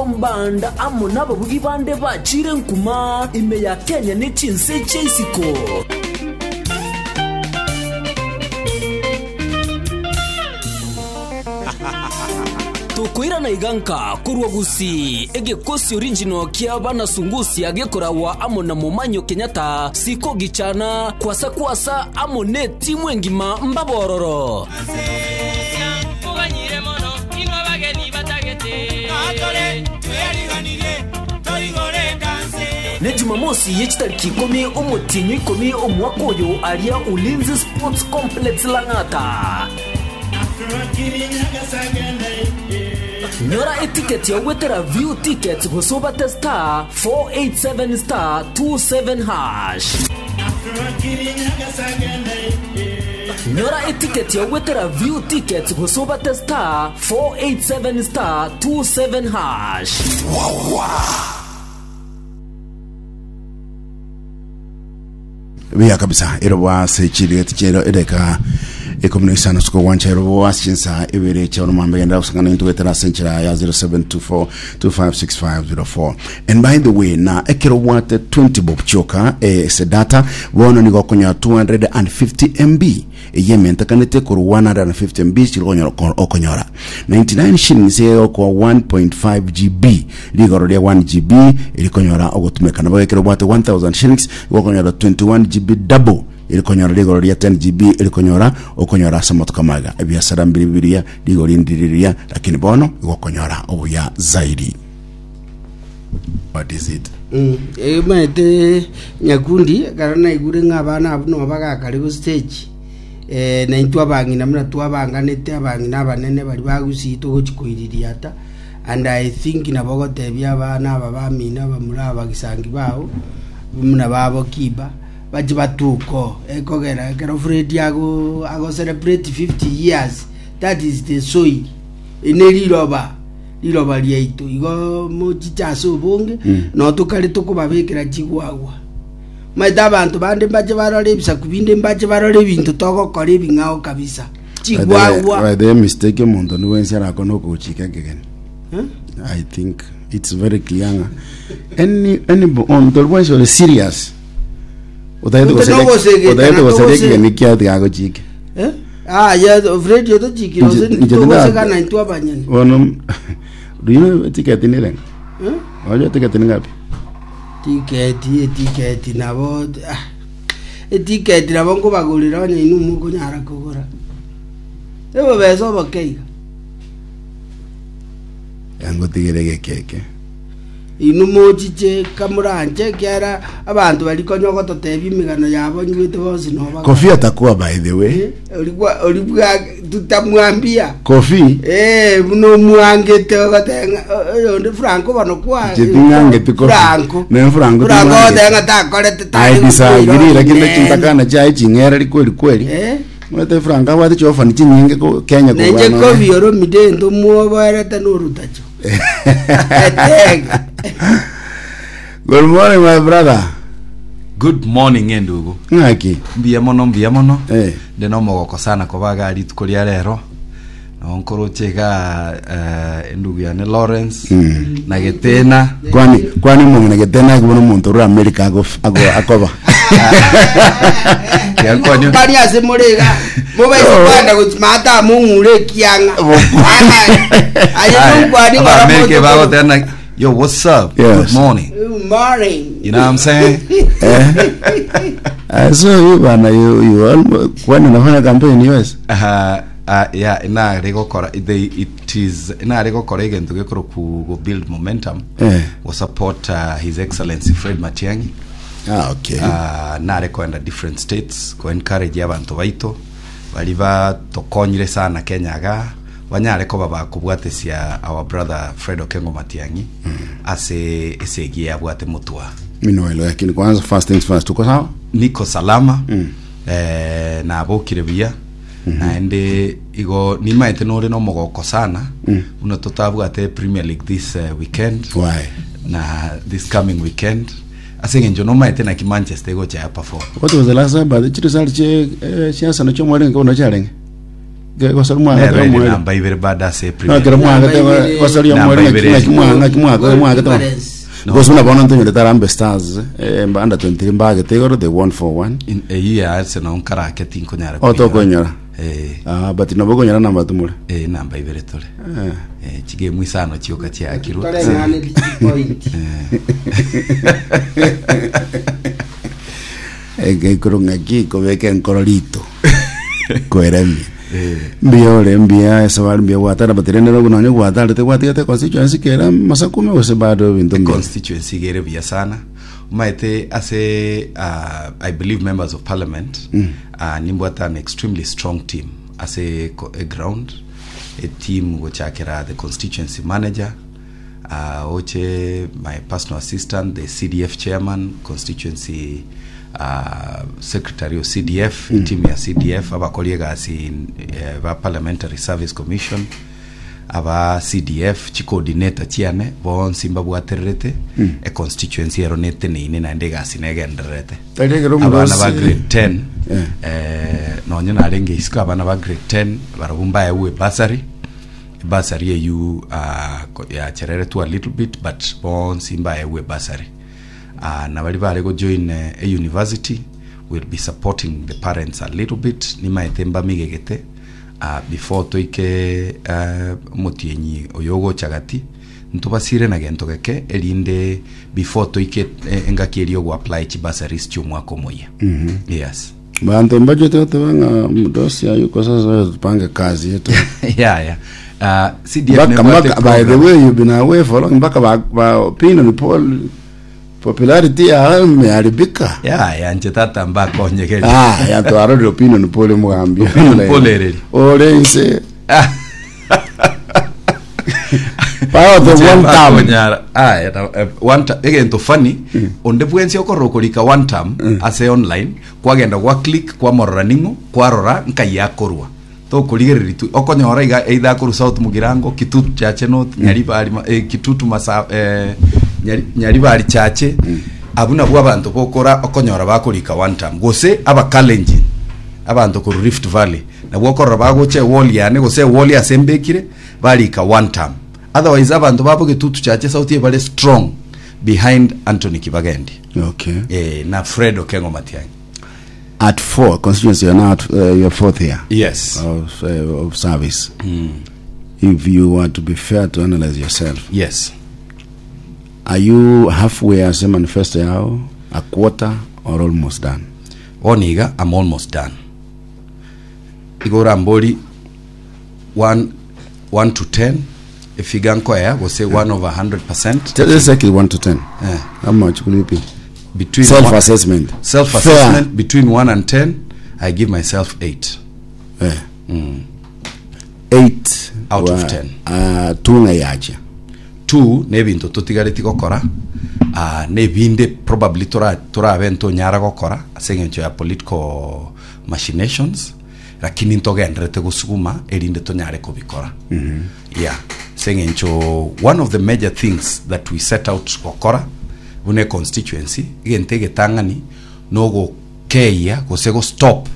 Tom Band amo nababugi bande bachire nkuma ime ya Kenya ne chinse chia isiko. Tokoirana iga nka korwa Gusii, egekosi original kia bana Sungusia gekoragwa amo na Momanyo Kenyatta, Siko Gichana, Kwasa Kwasa amo netimu engima mbabororo. Ne Jumamosi ye chitariki ikomi omotienyi o ikomi omwaka oyo aria Ulinzi Sports Complex Lang'ata. Nyora etiketi ya ogwetera View Tickets gose obate star 487 star 27 hash. Nyora etiketi ya ogwetera View Tickets gose obate star 487 star 27 hash. Buya kabisa erobo ase chirigeti chiero edeka ikomi na isano suko gwancha erobo ase chinsa ibere chia oromambe genda gosangana into getera ase enchera ya 0724256504 and by the way na ekero obwate 20 bob chioka eh, ase data bono nigo okonyora 250 mb Eyio ementekanete korwa 150 MB chiri konyora okonyora 99 shillings egokoa 1.5 GB rigoro ria 1 GB erikonyora ogotumeka nabo ekero obwate 1000 shillings igo okonyora 21 GB double erikonyora rigoro ria 10 GB erikonyora okonyora ase amatuko amaga ebiasara mbiri biria rigori ndiri riria lakini bono igo okonyora obuya zaidi What is it? Omanyete nyakundi ekero naigure ng'a abana abwo nabo bagakare go stage eh, na intwe abang'ina buna twabanganete abang'ina abanene baria bagusii togochi koiririata and I think nabo ogotebia abana aba bamino abamura aba bagisangi bao buna babo kiba bache batuke oo ekogera ekero Fred ago ago celebrate 50 years that is the soil ene riroba riroba riaito. Igo mochiche ase obonge, nao tokare tokobabekera chigwagwa. Omanyete abanto bande mbache barore ebisaku binde mbache barore ebinto togokora ebing'ao kabisa. Chigwagwa. By the way, mistake omonto onde bwensi arakore nokogochika ekegeni. Eh? I think it's very clear ng'a any any omonto ori bwensi ore serious otagete Ote goseria nogosegeta otagete na goseria togose- ekegeni kiaye tiga agochike. Eh? Aye Fred otochikire Inche- gose inche tinda- togosegana intwe abanyene. Bono do you know ticket ni renga? Eh? Wajua ticket ni ngapi? Tiketi etiketi nabo ah, etiketi nabo nkobagorera onye inwe mokonyara kogora. Ebobesa oboke iga. Yangotigere gekeke. Inwe mochiche kamoranche, ekiagera abanto baria konya ogototebia emegano yabo nyigwete bonsi nobaga. Kofi atakuwa by the way. Eh, origwa origwa tutamwambia Kofi Eh, buna omwangete ogoteba ng'a o- oyonde Franco bono kwa Inche ting'angeti Kofi. Franco Ne Franco Franco ting'angeti. ogoteba ng'a takorete I tari disagree lakini Nene. chintakana chiaye ching'ereri kweli kweli. Eh? Omanyete Franco abwate chiofani chinyinge ko Kenya Nenche kobua nonya. Kofi oromide into mwoboerete norutacho Etega. Good morning my brother. Good morning endugu. Ng'aki? Mbuya mono mbuya mono. Eh. Ndi nomogoko sana koba iga rituko ria rero. Nabo nkoroche iga eh, endugu yane Lawrence na Getena. Kwani kwani omong'ina Getena akibona omonto orure America ago ago akoba. Tiakonyo. Bari ase more iga mobaise Oh. kwenda gochima ata mong'ure ekiang'a aye nonkwani ng'ora Abamerika moto- bagotena yo what's up? Yes. Good morning. Good morning You know what I'm saying? Eh? Ah, so you bana you you almost kwani unafanya campaign US? Uh, uh, yeah, inare gokora they it is inare gokora egento gekoro ku go build momentum Eh. go support uh, his excellency Fred Matiang'i Ah, okay. uh, nare koenda different states ko encourage abanto baito bari batokonyire sana Kenya iga banyare koba bakobwatesia our brother Fred Okengo Matiang'i ase esegi yabwate motwa Mimi naelewa lakini kwanza first things first tuko sawa? niko salama mm. eh, nabokire buya Naende igo nimaete nore nomogoko sana buna totabwate Premier League this eh, weekend Why? na this coming weekend ase eng'encho nomaete naki Manchester egocha ya perform What was the last time but chiresult chie eh, chia Arsenal chiomwarenge bono chiarenge? Gosori mwagete Nero ere omwere. namba ibere bado ase No, Premier. kero mwagete Namba ibere. gosori Namba omwere ibere. ng'aki mwagete ng'aki mwagete mwagete. Difference. No. Because buna bono ntonyorete Harambee Stars eh, mba under 23 mbagete igoro they won 4-1. In- Eyio ya Arsenal nkarake tinkonyara Oh, tokoinyora. Eh, Ah, but nabo okonyora namba tumore. eh, namba ibere tore. Eh. Eh, chigemu isano chioka chiakirwe. Toreng'ane point. Egeikoro ng'aki kobeka enkoro rito kweremia mbuya ore mbuya esabari mbuya gwatara but rende nobwo nonye gwatarete gwatigete constituency kera masakume gose bado ebinto mbuya constituency igere buya sana omaete ase uh, i believe members of parliament mm. uh, nimbwate an extremely strong team ase ko- e ground a team gochakera the constituency manager uh, oche my personal assistant the cdf chairman constituency uh, secretary of cdf mm. team ya cdf abakori egasi eh, ba parliamentary service commission aba cdf chicoordinator chiane bonsi mbabwatererete mm. e constituency ero neteneine naende egasi negendererete Tari ekero abana ba omodosi- grade 10 Yeah. eh, nonye narenge isiko abana ba grade 10 barabwo mbaewe bursary Ebursary eyio yachereretwe a little bit but bonsi mbaegwe ebursary. Na baria bare gojoin e university will be supporting the parents a little bit nimaete mbamigegete before toike omotienyi oyo ogocha gati ntobasire na gento geke erinde before toike engaki eria ogo apply chibursaries chiomwaka omoyia. Yes. Banto mbachete goteba ng'a mdosi hayuko sasa tupange kazi yetu. yeah, yeah. CDF Mpaka nebwate mpaka by the program. way you've been away for long mpaka ba, ba opinion poll popularity ya imeharibika. Yeah, yeah, nche tata mbakonyegeria. Ah, ya twarorire opinion poll mugambi. Opinion poll ereri. Ore inse. Power the Nche one term. mbakonyara. Ah, yeah, na- eh, one term. Egento funny, onde bwensi okorora okorika one term ase online Kwagenda gwa click kwamorora ning'o kwarora nkai akorwa tokorigereria twe okonyora iga either akorwa south mugirango kitutu chache north nyaribari ma- eh, kitutu masa eh, nyari, nyaribari chache abwo nabwo abanto bokora okonyora bakorika one term gose abakalenjin abanto korwa rift valley nabwo okorora bagocha ewall yane gose ewall ase mbekire barika one term otherwise abanto babo gitutu chache south bare strong behind Anthony Kibagendi. Okay. Eh, na Fred Okengo Matiang'i. At four, constituency, you're now at your fourth year Yes. of service. If you were to be fair to analyze yourself, Yes. are you halfway as a manifesto yao, a quarter, or almost done? Bono iga I'm almost done. Igo orambori 1 1 to 10 efiga nkoea gose 1 over 100 percent Let's take it 1 to 10. Eh. How much will it be? between Self assessment. self assessment between 1 and 10 I give myself 8 Eh. 8 Out of 10. Tung'a yacha. 2 nebinto totigareti gokora ah, nebinde probably tora torabe ntonyara gokora ase eng'encho ya political machinations Lakini ntogendererete gosuguma erinde tonyare kobikora. Yeah. Ase eng'encho one of the major things that we set out gokora buna econstituency, egento egetang'ani nogokeyia gose gostop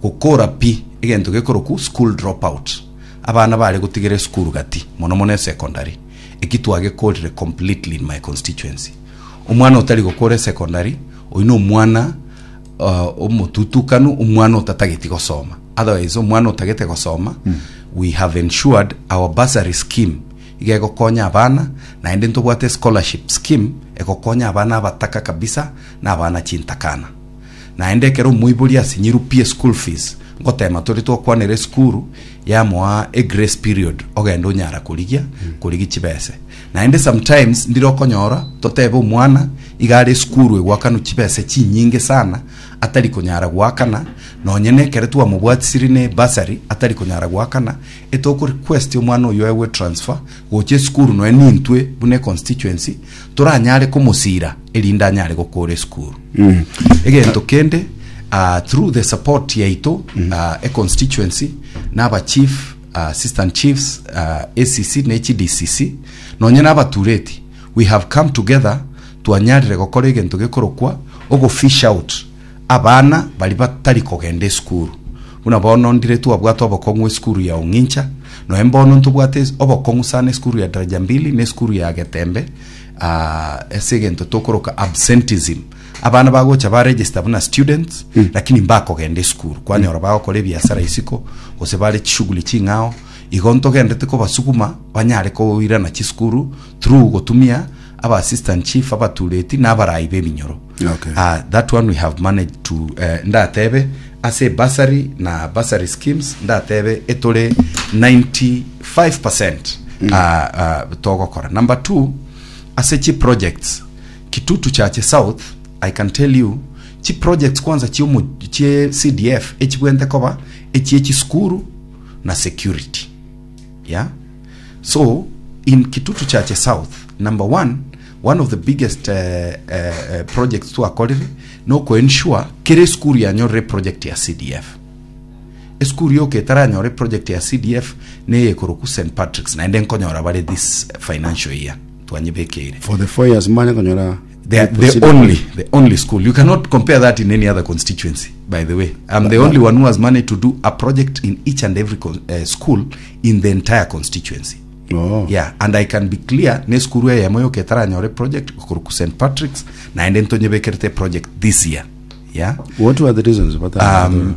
gokora pi egento gekorokwa school drop out. Abana bare gotigera esukuru gati mono mono esecondary, eki twagekorire completely in my constituency. Omwana otari gokora esecondary, oyio na omwana omotutukanu omwana otatageti gosoma otherwise omwana otagete gosoma we have ensured our bursary scheme iga egokonya abana naende ntobwate scholarship scheme egokonya abana abataka kabisa na abana chintakana naende ekero omoibori asinyirwe pi eschool fees ngotema tore twakwanera esukuru yamoa egrace period ogende onyara korigia korigia chibese Naende sometimes ndire okonyora totebe omwana iga are esukuru egwakanwa chibese chinyinge sana atari konyara goakana nonye nekere twamobwatisiri ne bursary atari konyara goakana etoko request omwana oyio aegwe transfer gocha esukuru nonya nintwe buna econstituency toranyare komosira erinde anyare gokora esukuru. Egento kende ah, through the support yaito ah, econstituency na abachief Assistant Chiefs, ACC ne HDCC, nonye na abatureti, we have come together twanyarire gokora egento gekorokwa ogo fish out abana baria batari kogenda esukuru. Buna bono ndire twabwate obokong'u esukuru ya Ong'incha, noe mbono ntobwate es- obokong'u sana esukuru ya Daraja Mbili na esukuru ya Getembe ah, ase egento tokoroka absenteeism. Abana bagocha ba register buna students lakini mbakogenda esukuru, kwanyora bagokora ebiasara isiko gose bare chishughuli ching'ao, igo ntogenderete kobasuguma banyare koirana chisukuru through gotumia aba assistant chief, abatureti na abarai b'ebinyoro. Okay. Ah, that one we have managed to eh, ndatebe ase bursary na bursary schemes ndatebe etore 95% ah, ah, togokora. Number two, ase chi projects Kitutu Chache South I can tell you chi projects kwanza chiomo chie CDF echibwente koba echie chisukuru na security yeah so in Kitutu Chache South number one one of the biggest uh, uh, uh, projects twakorire no ensure kere esukuru yanyorire project ya CDF esukuru yoka etaranyore project ya CDF neyekoroku St Patrick's naende nkonyora bare this financial year twanyebekeire For the 4 years manya konyora They are the only the only school. You cannot compare that in any other constituency. By the way, I'm the only one who has managed to do a project in each and every con- school in the entire constituency. Oh. Yeah, and I can be clear ne skuru eyemo yoka etaranyore project koruku St Patrick's naende ntonyebekerete project this year. Yeah. What were the reasons? But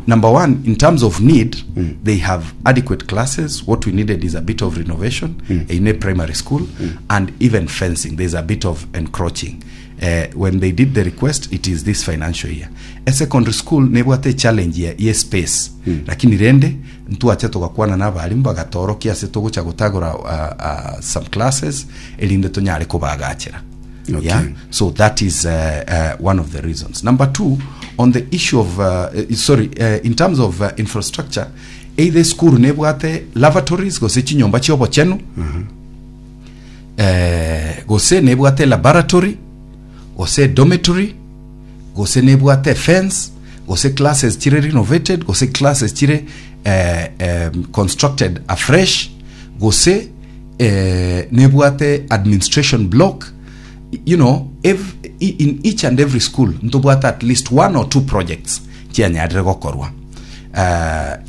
Number one, in terms of need, they have adequate classes. What we needed is a bit of renovation in a primary school and even fencing. There's a bit of encroaching. When they did the request, it is this financial year. A secondary school nebwate challenge ya, ye space lakini rende ntwache togakwana na abarimu bagatorokia ase togocha gotagora some classes erinde tonyare kobagachera. Okay. Yeah? So that is one of the reasons. Number two, on the issue of, sorry, in terms of infrastructure, either school nebwate lavatories gose chinyomba chiobochenu gose nebwate laboratory gose dormitory gose nebwate fence gose classes chire renovated gose classes chire constructed afresh gose nebwate administration block you know ev in each and every school ntobwate at least one or two projects chianyarire gokorwa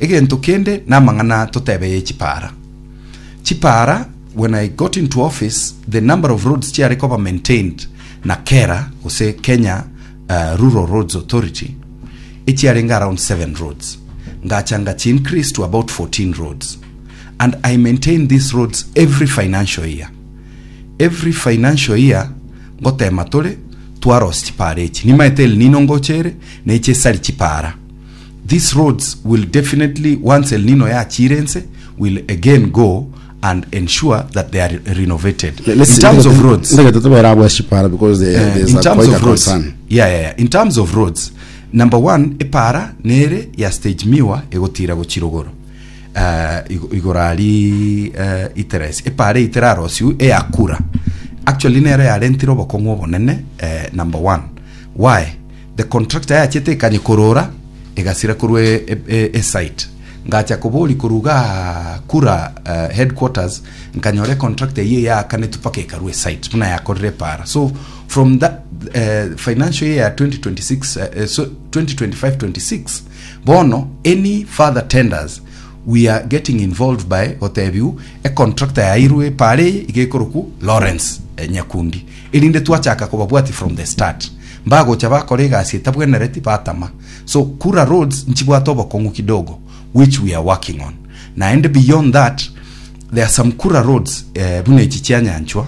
egento kende namang'ana totebe ye chipara chipara when I got into office the number of roads chiare koba maintained na KERA gose Kenya Rural Roads Authority echiarenge around 7 roads ngacha ngachi increase to about 14 roads and I maintain these roads every financial year every financial year ngotema tore twarosia chipara echi nimaete El Nino ngocha ere neche esari chipara these roads will definitely once El Nino yachire ense will again go and ensure that they are renovated in terms of roads Ndagete tubera abwa chipara because there, there's in a terms quite a of roads concern. yeah. In terms of roads number one epara nere ya stage miwa egotira gochirogoro igoro ari iteresi epara iterarosiu eyakura actually nere yarentire obokong'u obonene number one why the contractor yachete ekanye korora egasira korwa e, e, e, e site ngacha kobori koruga kura headquarters nkanyora contractor eye yakanetwe paka ekarwa esite buna yakorire epara so from that financial year ya 2026 so 2025 26 bono any further tenders we are getting involved by gotebiu econtractor yairwe epara eye iga ekoroku Lawrence Nyakundi erinde twachaka kobabwati from the start mbagocha bakora egasi etabwenereti batama so kura roads nchibwate obokong'u kidogo which we are working on naende beyond that there are some kura roads buna echi chia Nyanchwa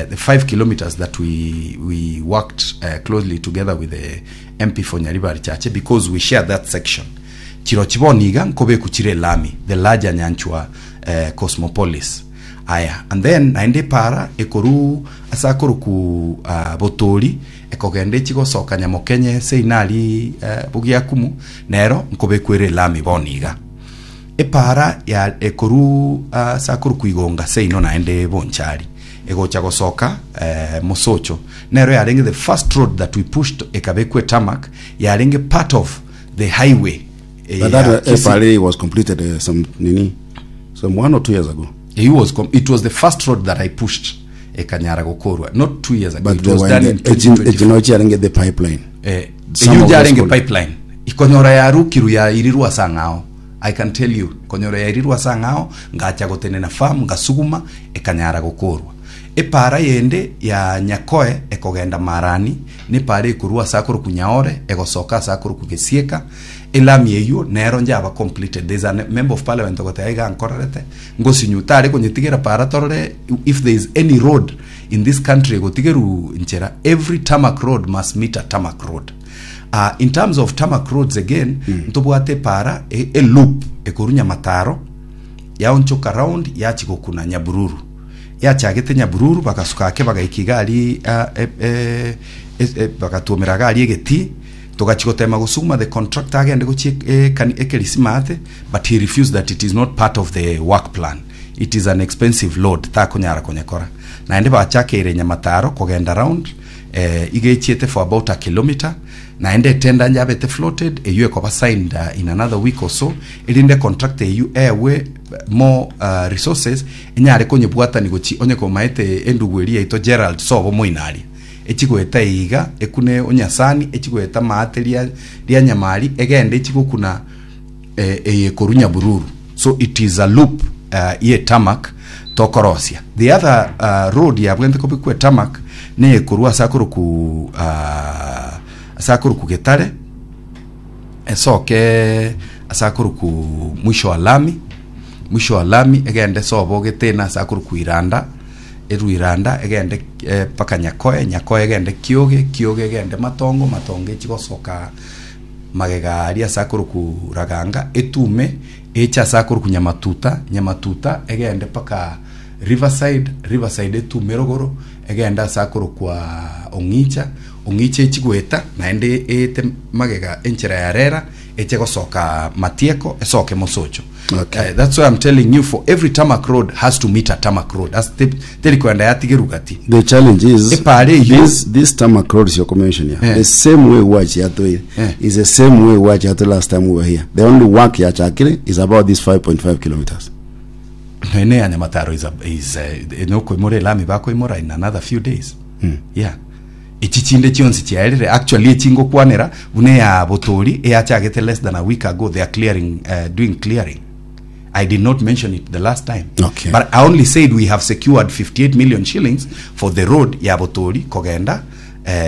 the 5 kilometers that we worked closely together with the MP for Nyaribari Chache because we share that section chirochi bono iga nkobeku chire elami the larger Nyanchwa Cosmopolis aya and then naende epara ekoru ase akoroku Botori ekogenda echi gosoka Nyamokenye ase inari Bogiakumu nero nkobeku ere elami bono iga epara ya ekoru ase akoroku Igonga seino naende Bonchari egocha gosoka Mosocho nero yarenge the first road that we pushed ekabekwa etarmac yarenge part of the highway But ya that Kisii. FRA was completed some nini some 1 or 2 years ago. He was it was the first road that I pushed ekanyara gokorwa not 2 years ago But it they was were done in in the 2024 ejinochi the pipeline. Some eyu of those yarenge school- pipeline ikonyora yarukiru yairirwa ase ang'ao I can tell you konyora yairirwe ase ang'ao ngacha gotenena farm ngasuguma ekanyara gokorwa. Epaara yende ya Nyakoe ekogenda Marani, na epaara ekorwa ase akorokwa Nyaore egosoka ase akorokwa Gesieka, elami eyio nero njaba completed. There is a member of parliament ogoteba iga nkorerete ngosinyu tare konyetigera paara torore if there is any road in this country egotigerwa nchera every tarmac road must meet a tarmac road. Uh, in terms of tarmac roads again ntobwate epaara e, e loop ekorwa Nyamataro yaonchoka round yachi gokuna Nyabururu yachagete Nyabururu bagasuka ake bagaika iga aria ah, e, e, e, e, bagatuomera iga aria egetii togachia gotema gosuguma the contractor agende gochia ekani ekerisima ate but he refused that it is not part of the work plan it is an expensive load takonyara konyekora naende bachakeire Nyamataro kogenda round eh, iga echiete for about a kilometer naende etenda yabete floated eyio ekoba signed uh, in another week or so erinde contract eyio ewe more uh, resources enyare konyebwatani gochi onye komaete endugu eria yaito Gerald sobo moinaria echigoeta iga ekune onyasani echigoeta maate ria ria nyamari egende echigokuna eh, eye korwa Nyabururu so it is a loop uh, ye tarmac tokorosia the other uh, road yabwente kobekwa tarmac neye korwa ase akoroku uh, ase akoroku Getare esoke ase akoroku mwisho wa lami mwisho wa lami egende sobo getena ase akoroku Iranda erwe Iranda egende eh, mpaka Nyakoe Nyakoe egende Kioge Kioge egende Matongo Matongo echigosoka magega aria ase akorokwa Raganga, etume eche ase akorokwa Nyamatuta, Nyamatuta egende mpaka Riverside, Riverside etume rogoro egende ase akorokwa Ong'icha, Ong'icha echie goeta naende eete magega enchera ya Rera eche gosoka Matieko esoke Mosocho. Okay. Eh, that's why I'm telling you for every tarmac road has to meet a tarmac road. As te, teri koenda yatigeru gati. The challenge is Epare eyio- this this tarmac roads you're mentioning here, Eh. the same way watch yatoire Eh. is the same way watch yato last time we were here. The only work yachakire is about this 5.5 kilometers. Nene ya Nyamataro is a, is a, nokoimora elami bakoimora in another few days. Yeah. Echi chinde chionsi chiaerire actually echingokwanera buna eya Botori eyachagete less than a week ago they are clearing uh, doing clearing. I did not mention it the last time. Okay. But I only said we have secured 58 million shillings for the road ya Botori kogenda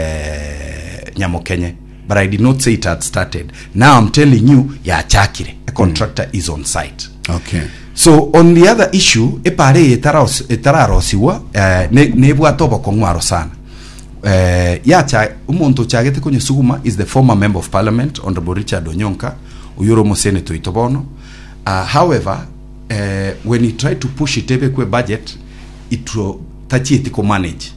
eh, Nyamokenye. But I did not say it had started. Now I'm telling you yachakire. A contractor is on site. Okay. So on the other issue epare eye etaros- etararosiwa eh, ne- nebwate obokong'u aro sana eh, yacha omonto ochagete konyesuguma is the former member of parliament honorable Richard Onyonka oyo ore omoseneta oito bono uh, however eh, when he tried to push it ebekwe budget it wa- tachieti komanage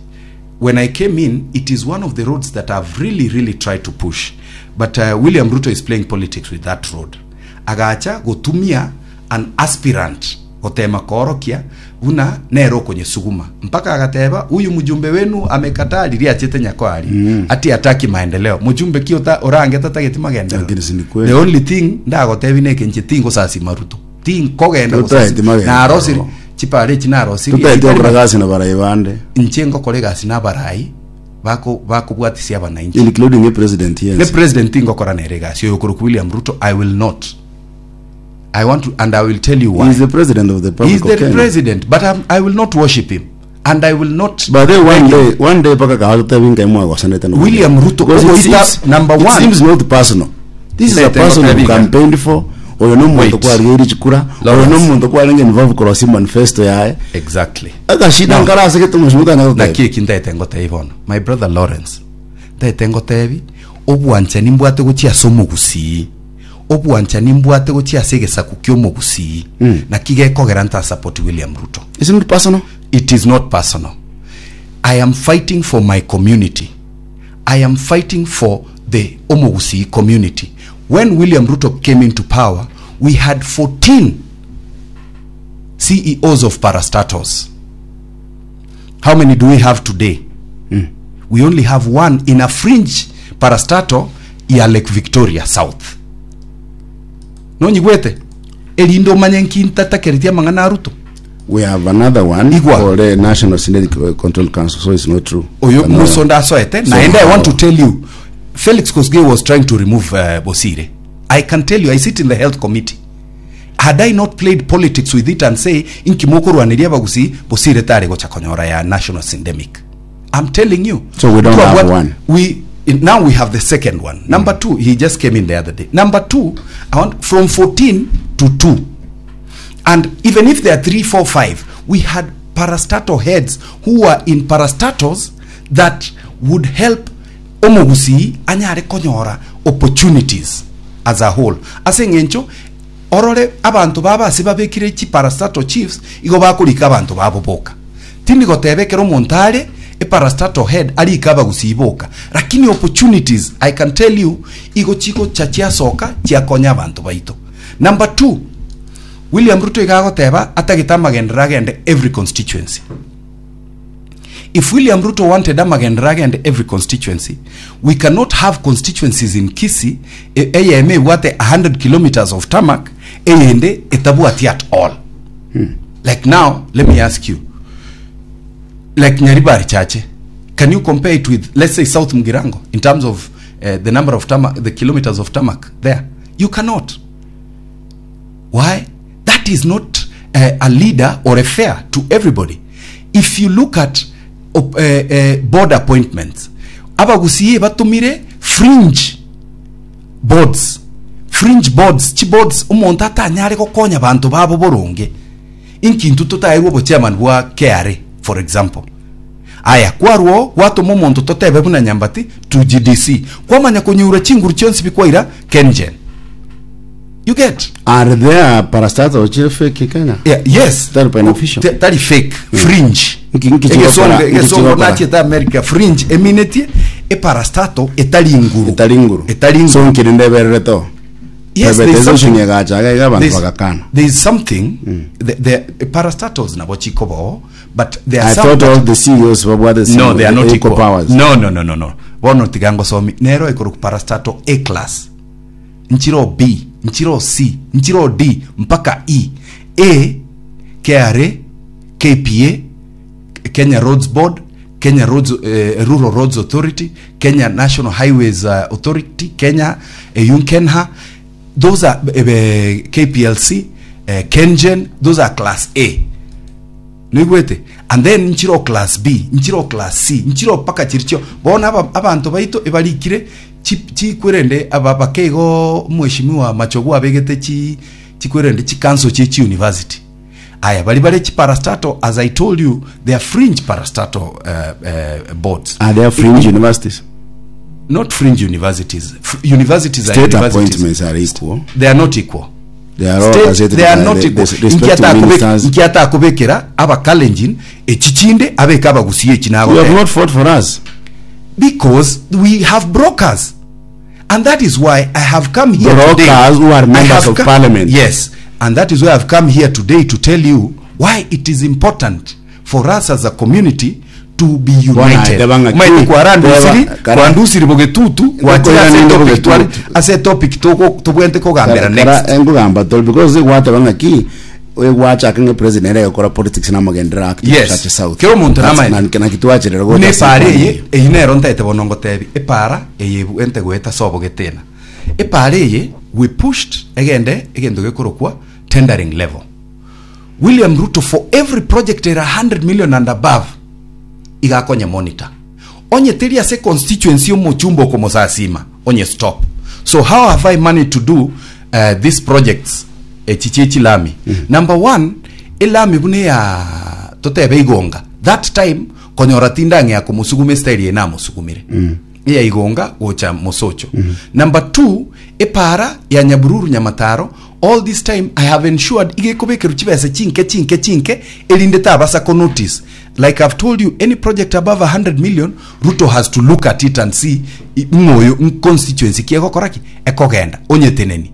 when I came in, it is one of the roads that I've really, really tried to push. But uh, William Ruto is playing politics with that road. Agacha gotumia an aspirant gotema koorokia buna nere okonyesuguma mpaka agateba huyu mjumbe wenu amekataa riria achete nyakwari mm. ati ataki maendeleo mjumbe ki ota orange tatageti magendeleo Lakini si ni kweli. the only thing ndagotebi neke nche tingosasima Ruto tinkogenda Totageti gosasima magendeleo. narosiri chipare echi narosiri Tutaete okora gasi na barai bande inche ngokora egasi na abarai bako bakobwatisia abananchi including a president ne yes. president ngokora nere egasi oyo okorokwa William Ruto I will not I want to and I will tell you He why is the president of the He Republic is of the Kenya. president but I'm, I will not worship him and I will not But then one beg him. day, one day paka kawata winga imwa kwa seneta no. William Ruto, Because it ogoita seems, number it one. seems not personal. This is a Ndete person who ngotebiga. campaigned for oyo no muntu Wait. kwarigeire chikura oyo no Lawrence. muntu kwarenge involved korosi manifesto yaye exactly akashida No. nkarase getumushuka na naki eki ntaete ngotebi bono my brother Lawrence ntaete ngotebi obwanchani mbwate gochia ase omogusii obwanchani mbwate gochia ase egesaku kia omogusii mm. naki gekogera nta support William Ruto Is it not personal? it is not personal I am fighting for my community I am fighting for the Omogusii community. When William Ruto came into power, we had 14 CEOs of parastatals. How many do we have today? We only have one in a fringe parastatal ya Lake Victoria South. Nonyigwete erinde omanye nki ntatakeretie amang'ana a Ruto We have another one Igwa. for the National Synthetic Control Council, so it's not true. oyo Another- musonda asoete So naende i want to how- tell you Felix Kosgei was trying to remove uh, Bosire I can tell you I sit in the health committee. Had I not played politics with it and say inki mokorwaneria abagusii bosire tare gocha konyora ya national syndemic. I'm telling you. So we don't have Twabwat- one. We now we have the second one. Number two, he just came in the other day. Number two, I want from 14 to 2. And even if there are three, four, five, we had parastatal heads who were in parastatals that would help omogusii anyare konyora opportunities as a whole. Ase eng'encho orore abanto babo ase babekire chiparastatal chiefs igo bakorika abanto babo boka. Tindi goteba ekero omonto are eparastatal head arike abagusii boka, lakini opportunities I can tell you igo chigocha chiasoka chiakonya abanto baito. Number two, William Ruto iga agoteba atagete amagenderero agende every constituency. If William Ruto wanted amagenderero agende every constituency, we cannot have constituencies in Kisii e- eyemo ebwate 100 kilometers of tarmac eyende etabwati at all. Like now, let me ask you, like Nyaribari Chache, can you compare it with, let's say, South Mugirango in terms of uh, the number of tarmac, the kilometers of tarmac there? You cannot. Why? That is not uh, a leader or a fair to everybody. If you look at op, uh, uh, board appointments, abagusii batumire fringe boards fringe boards chiboards omonto atanyare gokonya banto babo boronge inki intwe totaerwe obochairman bwa KRA for example aya kwarwo gwatoma omonto totebe buna nyambati to GDC kwamanya konyura chinguru chionsi bikwaira KenGen you get Are there parastatals chiri fake in Kenya? Yeah, yes Tari beneficial. Te- tari fake fringe Nki- nki Egesongo- chigokora- nki egesongo chigokora. nachiete america fringe eminetie eparastato etari nguru Etari nguru. etari nguru So nkiri ndeberere to. Yes, there is Privatization something- egacha iga abantu There's- bagakana. there is something the, the parastatals nabo chikobao but there are I some thought that- all the CEOs babwate no they are not equal equal powers. no no no no no bono tiga ngosomi nero ekoroku parastato a class nchiro b nchiro c nchiro d mpaka e a kra kpa Kenya Roads Board, Kenya Roads, eh, Rural Roads Authority, Kenya National Highways uh, Authority, Kenya eh, Yunkenha, those are eh, eh, KPLC, eh, KenGen, those are class A. Nigwete and then nchiro class B, nchiro class C, nchiro paka chiricho. Bona aba, abanto baito ebarikire chi- chikwerende aba bakeigo mheshimiwa Machogu abegete chi chikwerende chi council chi chi university. Aya bari bare chiparastato as I told you they are fringe parastato uh, uh, boards. Are there fringe universities? Not fringe universities. F universities are State universities. appointments are equal. They are not equal. They are all State, gazetted they are by not the, equal. the respective ministers. Nkiata akobekera abakalenjin echichinde abeka abagusie echi You have nagoteba. not fought for us. Because we have brokers. And that is why I have come here Brokers today. who are I members have of co- parliament. Yes. And that is why I've come here today to tell you why it is important for us as a community to be united. Bwana, tebanga Maite ki? kwarandusiri, Teba- kara- kwarandusiri bogetutu, gwachira ase ninde topic bogetutu. twari- ase topic toko tobwente kogambera next. Engugamba tol because gwateba ng'aki egwachaka ng'a president egakora politics namagenderero active Yes. Church South. Kera omonto That's- namaene. na- nakitwacherera Buna gocha epara ase eye eyio nero ntaete bono ngotebi epara eye ente goeta sobo getena epara eye we pushed egende egento gekorokwa tendering level william ruto for every project era 100 million and above igakonya monitor onye teri ase constituency omochumba okomosasima onye stop so how have i managed to do uh, these projects echichi echilami mm -hmm. number one elami buna ya totebe igonga that time konyora tindang'ea komosugume estyle eye namosukumire mm. ya igonga gocha mosocho mm -hmm. number two epara ya nyabururu nyamataro all this time i have ensured igekobekerwa chibesa chinke chinke chinke erinde tabasa ko notice like i've told you any project above 100 million ruto has to look at it and see i- ng'oyo constituency ki egokora ki ekogenda onyeteneni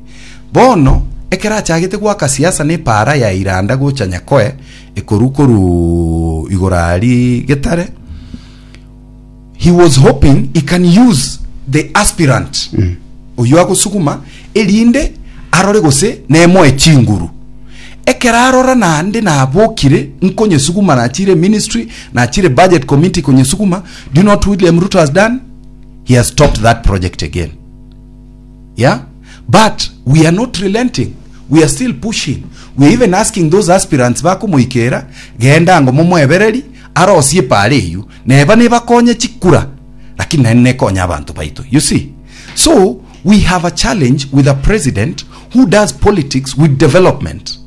bono ekero achagete gwaka siasa na epara ya iranda gocha nyakoe ekoru koru igoro aria getare he was hoping he can use the aspirant mm. oyo agosuguma erinde arore gose nemoe chinguru ekero arora naende nabokire nkonyesuguma nachire ministry nachire budget committee konyesuguma do you know what william ruto has done he has stopped that project again yeah but we are not relenting. We are still pushing. We are even asking those aspirants bakomoikera, genda ango momoebereri, arosie epaara eyio, neba nebakonye chikura, lakini naende nekonye abanto baito. You see? So, we have a challenge with a president who does politics with development.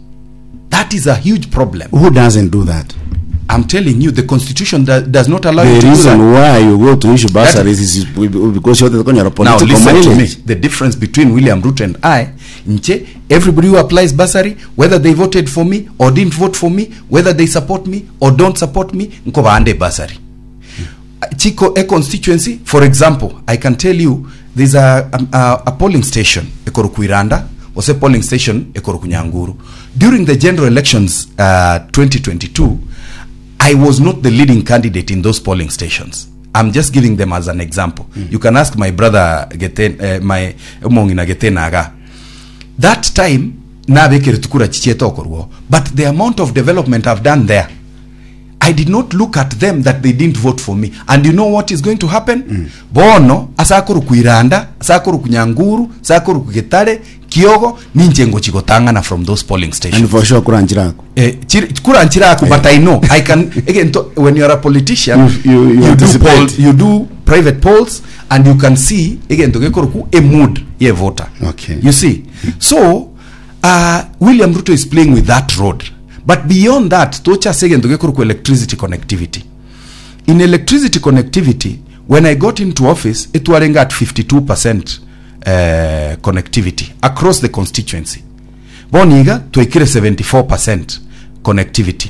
That is a huge problem. Who doesn't do that? I'm telling you, the constitution does not allow you The to do reason that. why you go to issue bursaries is because you're the Now political listen to me. mileage. The difference between William Ruto and I, nche, everybody who applies bursary, whether they voted for me or didn't vote for me, whether they support me or don't support me, nkobande bursary. Chico, a constituency, for example, I can tell you there's a polling station, Ekorokuiranda, was a polling station, Ekorokunyanguru. During the general elections 2022, I was not the leading candidate in those polling stations. I'm just giving them as an example. You can ask my brother Geten, my Omongina Getenaga. That time nabekere tukura chichiete okorwo but the amount of development I've done there I did not look at them that they didn't vote for me. And you know what is going to happen? Bono asakoru Iranda, asakoru Nyanguru, asakoru Getare, Kiogo, ninche ngochi gotang'ana from those polling stations. And for sure kuranchirako. Eh, kuranchiraku but I know I can again to, when you are a politician You do anticipate. poll, you do private polls and you can see again to gekoruku a mood ye voter. Okay. You see. So William Ruto is playing with that road. But beyond that, tocha segen to gekoruku electricity connectivity. In electricity connectivity, when I got into office, it was at 52% connectivity across the constituency. Boniga twekire 74% connectivity.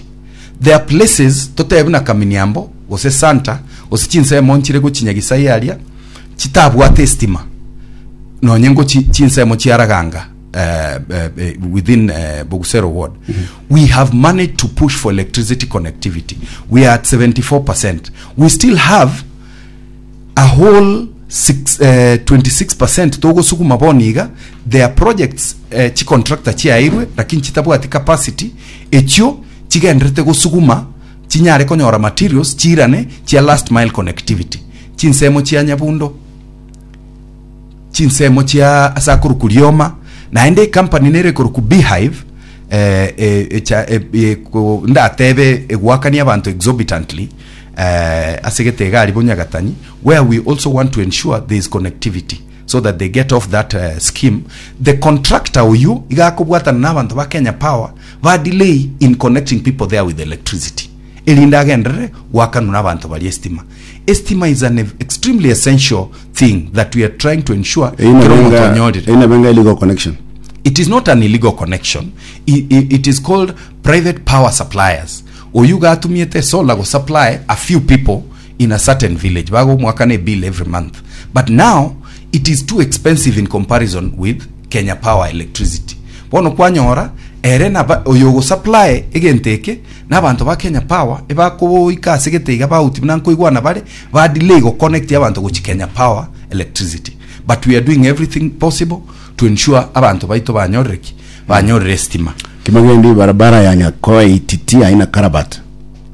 There are places totebe na Kaminiambo, gose Santa, gose chinsemo nchire gochinyagisa yaria, chitabwate estima. Nonye ngo chinsemo chiaraganga within Bogusero ward. We have managed to push for electricity connectivity. We are at 74%. We still have a whole 26% togosukuma boniga. There are projects chicontractor chiairwe lakini chitabwati capacity echio chigenderete gosukuma chinyare konyora materials chirane chia last mile connectivity chinsemo chia Nyabundo chinsemo chia asakuru kurioma naende company nere koruku Beehive ndatebe egwakania abantu exorbitantly asegete egari bonyagatanyi where we also want to ensure there is connectivity so that they get off that scheme. The contractor uyu igakobwatana na abantu ba Kenya Power ba delay in connecting people there with electricity erinda agendere gwakanura abantu bari estima. Estima is an extremely essential thing that we are trying to ensure kero omonto onyorire. Ina benga illegal connection. It is not an illegal connection. It is called private power suppliers. Oyu gatumiete solar go supply a few people in a certain village. Bago mwakane bill every month. But now it is too expensive in comparison with Kenya Power electricity. Bono kwanyora ere na oyo go supply egenteke na abantu ba Kenya Power ebakoika asegete iga bauti nankoigwana bare ba delay go connect abantu go Kenya Power electricity. But we are doing everything possible to ensure abantu baito banyorereki banyorere estima. Kimagendi barabara ya Nyakoe Ititi haina karabat.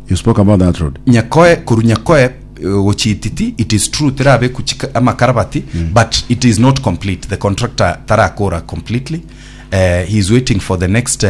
You spoke about that road. Nyakoe kuru Nyakoe gochi Ititi, it is true terabe kuchika amakarabati but it is not complete. The contractor tarakora completely. He is waiting for the next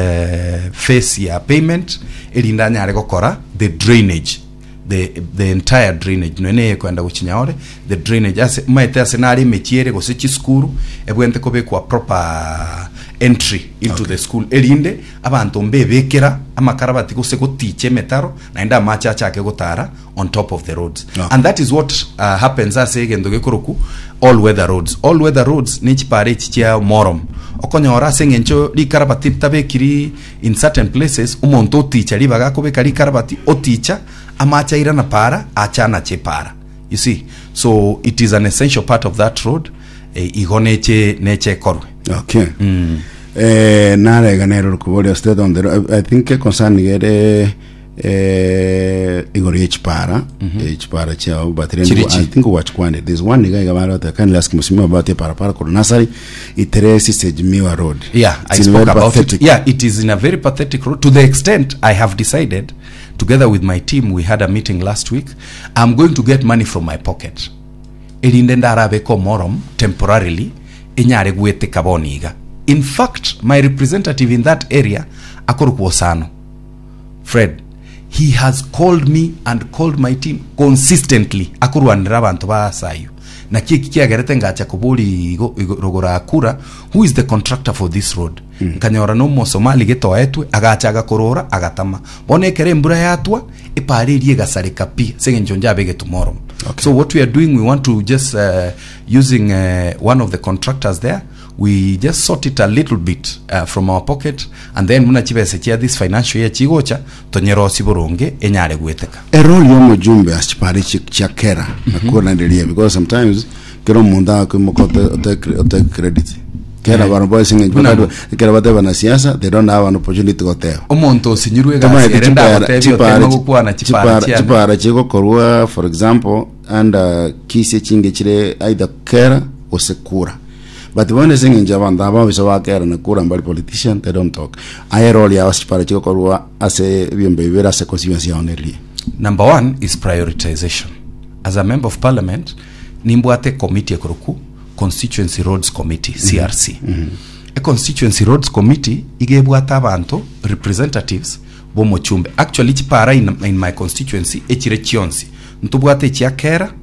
phase ya payment erinda anyare gokora the drainage, the entire drainage nene kwenda guchinyaore the drainage ase maete ase nari emechiere gose chisukuru ebwente kobekwa proper entry into the school erinde abantu mbebekera amakarabati gose gotiche emetaro naende amache achake gotara on top of the roads. And that is what happens ase egento gekoroku all weather roads. All weather roads ni chipare echi chia morom okonyora ase eng'encho rikarabati tabekiri in certain places omonto oticha ribaga akobeka rikarabati oticha amache airana para achana chepara. You see, so it is an essential part of that road. Igo neche neche korwe. Okay. Narega nero rukuboria state on the road. I think concern gere igoro yechipara echipara chao but then Chirichi. I think wachkwande there's one nigga igabara that can ask msimwa about a parapara kuru nasari iteresi sejmiwa road. Yeah, I It's in spoke very about pathetic. it. Yeah, it is in a very pathetic road to the extent I have decided, together with my team, we had a meeting last week, I'm going to get money from my pocket. Erinde ndarabeka omorom temporarily inyare gweteka boniga. In fact, my representative in that area akorokwa Osano Fred, he has called me and called my team consistently akorwanera abanto ba ase ayio. Naki eki kiagerete ngacha koboria igo igo rogoro akura who is the contractor for this road? Nkanyora na omosomali getoetwe agacha agakorora agatama. Bono ekero embura yatwa epara eria egasareka pi ase eng'encho njabegete omoromo. Okay. So what we are doing we want to just uh, using uh, one of the contractors there we just sort it a little bit uh, from our pocket and then buna chibesa chia this financial year chigocha tonyerosi boronge enyare gweteka erole ya omojumbe ase chipara echi chia kera nakoranderia because sometimes kera omonto akoimoka ote- ote ote credit kera Eh. bantu bonsi ng'encho Buna bakari- ekero bateba na siasa they don't have an opportunity goteba omonto osinyirwe egasi Tomaete ere chipara- ndagotebia chipara- oteme gokwana chipara chipara- chiane chipara chigokorwa for example under kisi echinge chire either kera gose kura but bono ase eng'encho abanto aba abisa ba kera na kura mbari politician they don't talk aye role yao ase chipara chigokorwa ase ebiombe bibere ase constituency yao neriria Number one is prioritization. As a member of parliament, nimbwate ecommittee ekoroku Constituency Roads Committee, CRC. E Constituency Roads Committee iga ebwate abanto representatives b'omochumbe. Actually chipara in, in my constituency echire chionsi. Ntobwate echia Kera,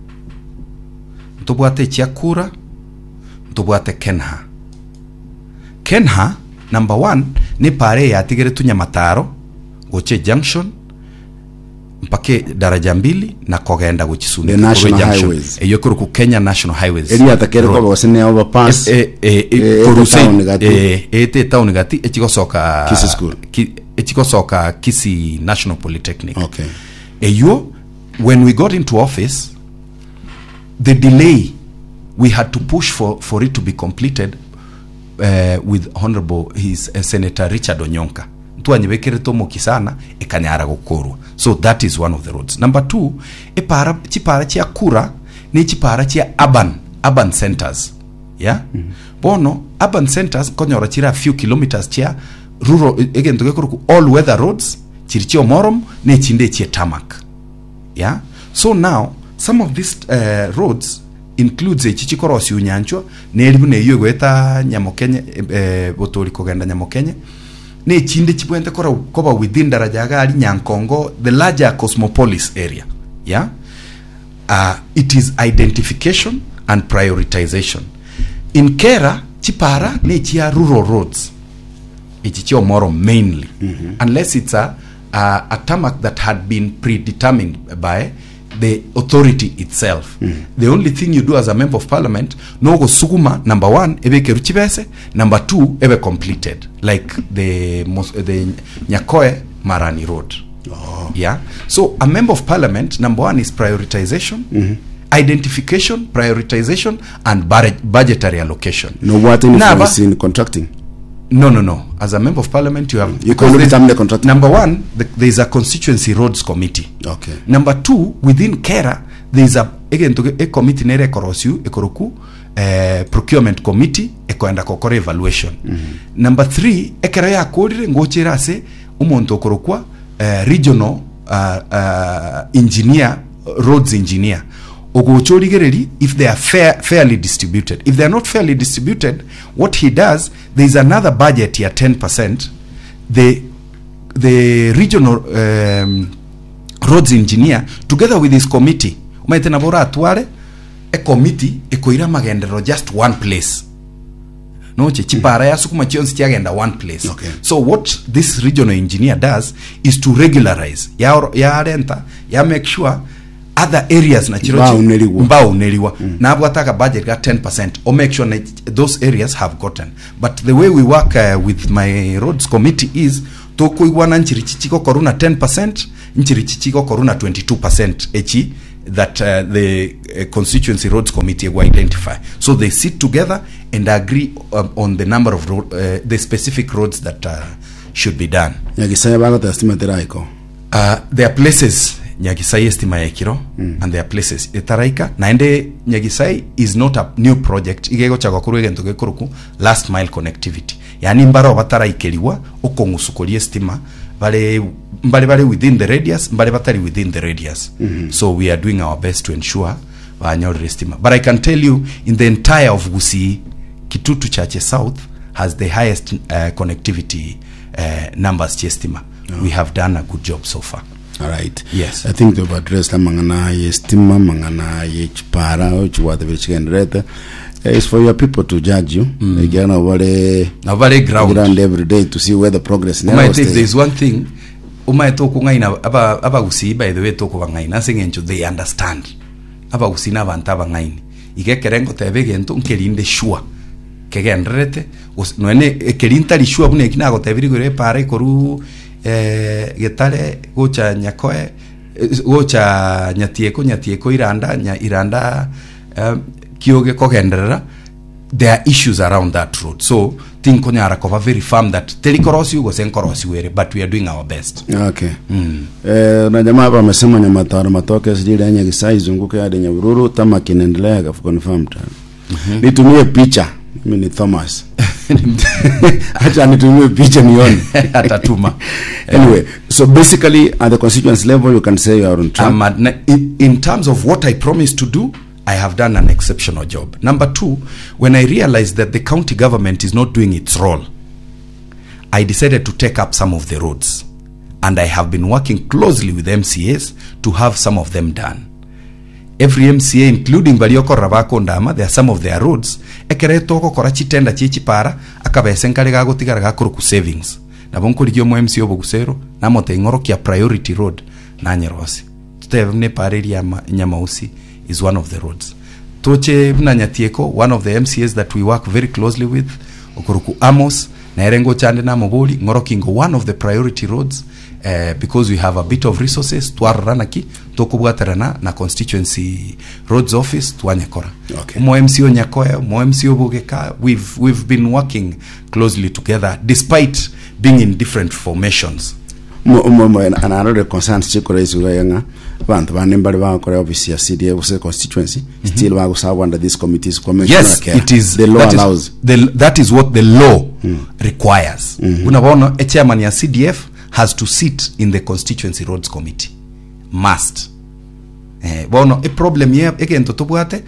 ntobwate echia Kura, ntobwate Kenha. Kenha, number one, nepara eye yatigeretwe Nyamataro gochia ejunction mpaka daraja mbili na kogenda gochia The Suneka korwa national ejunction highways. eyio ekorokwa Kenya National Highways Eria atakere Road. koba gose ne overpass Eh, eh, eh, Eh, korwa ete ase- town gati. eh, ete etown gati echigosoka Kisii School. ki, echigosoka Kisii National Polytechnic Okay. eyio when we got into office the delay we had to push for, for it to be completed uh, with honorable his uh, senator richard onyonka ntwanyebekerete omoki sana ekanyara gokorwa so that is one of the roads number two epara chipara chia kura ne chipara chia urban urban centers yeah mm -hmm. bono urban centers konyora chira few kilometers chia rural egento gekoroku all weather roads chiri chia omorom ne echinde echie tarmac yeah so now some of these uh, roads includes echi chikorosia onyanchwa neri buna eyio egoeta nyamokenye eh, botori kogenda nyamokenye na echinde chibwente kora koba within daraja iga aria nyankongo the larger cosmopolis area yeah uh, it is identification and prioritization in kera chipara ne chia rural roads echi chia omoro mainly unless it's a, a, a tarmac that had been predetermined by the authority itself the only thing you do as a member of parliament nogosuguma number one ebekeru chibese number two ebe completed like the, Mos- the nyakoe marani road oh. yeah so a member of parliament number one is prioritization identification prioritization and barre- budgetary allocation no what Naba- influence in contracting no, no, no. As a member of parliament, you have. You cannot because determine the contract. Number one, the, there is a constituency roads committee. Okay. Number two, within KERA, there is a again to a committee nere ekorosiu ekoroku eh, procurement committee ekoenda kokora evaluation. Number three, ekero yakorire ngochera ase omonto okorokwa eh, regional uh, uh, engineer roads engineer ogocha origereri if they are fair, fairly distributed if they are not fairly distributed what he does there is another budget ya 10% the the regional um, roads engineer together with his committee omanyete nabo oratware ecommittee ekoira amagenderero just one place noche chipara yasukuma chionsi chiagenda one place Okay. so what this regional engineer does is to regularize ya yarenta ya make sure other areas na chiro Mbauneriwa. mbauneriwa mm. nabwata aka budget ga 10% o make sure na those areas have gotten but the way we work uh, with my roads committee is tokoigwana nchiri chichigokorwa na 10% nchiri chichigokorwa na 22% echi that uh, the uh, constituency roads committee will identify so they sit together and agree um, on the number of road, uh, the specific roads that uh, should be done nyagisaya bagoteba stima teraiko uh, there are places nyagisai estima yaikiro mm. and there are places etaraika naende nyagisai is not a new project iga egocha gokorwa egento gekoroku last mile connectivity yani mbaro bataraikeriwa okong'usukoria estima bare mbare bare within the radius mbare batari within the radius mm -hmm. so we are doing our best to ensure banyorire estima but i can tell you in the entire of gusii kitutu chache south has the highest connectivity numbers chiestima. We have done a good job so far. Alright. Yes. I think they've addressed amang'ana ye stima, amang'ana ye chipara, chiwatebe chigenderete. It's for your people to judge you. Mm. Ekiagera nabo bare Nabo bare ground. ground every day to see where the progress nero Omaete if stay. there is one thing omaete okong'aina aba abagusii by the way tokobang'aina ase eng'encho they understand abagusii na abanto abang'aini iga ekere ngoteba egento nkerinde sure kegendererete gose nonya ne ekeri ntari sure buna eki nagotebirie igoro epara ekorwa eh, getare gocha nyakoe eh, gocha nyatieko nyatieko iranda nya iranda eh, kioge kogenderera there are issues around that road so tinkonyara koba very firm that teri korosiwa gose nkorosiwa ere but we are doing our best Okay. Eh, na jamaa hapa amesema Nyamataro matoke sijili ya Nyagisai izunguke hadi Nyabururu tamaki inaendelea confirmed. Nitumie picha. Mimi ni Thomas. Acha nitumie picha nione. Atatuma. Anyway, so basically at the constituency level you can say you are on track. In terms of what I promised to do, I have done an exceptional job. Number two, when I realized that the county government is not doing its role, I decided to take up some of the roads. And I have been working closely with MCAs to have some of them done. Every MCA including baria okorora bakondama, there are some of their roads, ekere togokora chitenda chie chipara, akabese nkare gagotigara gakoroku savings. Nabo nkorigia omo MCA obogusero, namotebi ng'orokia priority road, nanyerosie. Totebe buna epara eria ya ma- Nyamausi is one of the roads. Toche buna Nyatieko, one of the MCAs that we work very closely with, okoroku Amos, nere ngocha ande namobori, ng'oroki ngo one of the priority roads, eh, because we have a bit of resources, twarora naki, tokobwaterana na constituency roads office, twanyekora. Okay. Omo MC o Nyakoe, omo MC o Bogeka, we've, we've been working closely together despite being in different formations. Mo- mo- mo- and another concerns chikora isuga yanga abantu bane mbari bagokora office ya CDA gose constituency still bagosabwa under these committees kwa yes it is the law that is- allows the, that is what the law requires buna bono a chairman ya cdf has to sit in the constituency roads committee must eh, bono eproblem ye egento tobwate.